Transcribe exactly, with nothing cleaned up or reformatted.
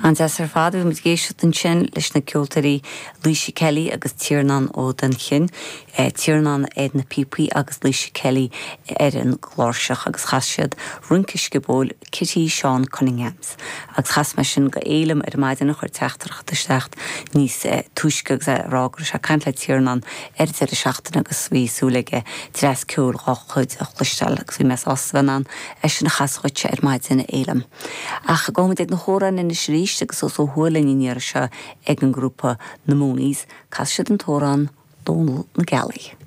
An-deas ar fad bhí muid ag éisteacht ansin leis na ceoltóirí Laoise Kelly agus Tiarnán Ó Duinnchinn, eh, Tiarnán ar na píopaí agus Laoise Kelly ar an gcláirseach agus chas siad Rince Sciobóil Kitty Seán Cunninghams. Agus chas mé sin go élam ar maidin a chuir teachtaireacht isteach níos eh, túisce agus é rá go raibh sé ag caint le Tiarnán ar deireadh seachtaine agus bhí súil aige dreas ceoil dá chuid a chloisteáil agus bhí mé sásta an é sin a chasadh dhuit ar maidin élam. Ach gabhfaimid ag na hamhráin anois arís agus os ó thuailinn in seo ag an grúpa na Mooneys, cas siad an t-amhrán Dónal na Gealaí.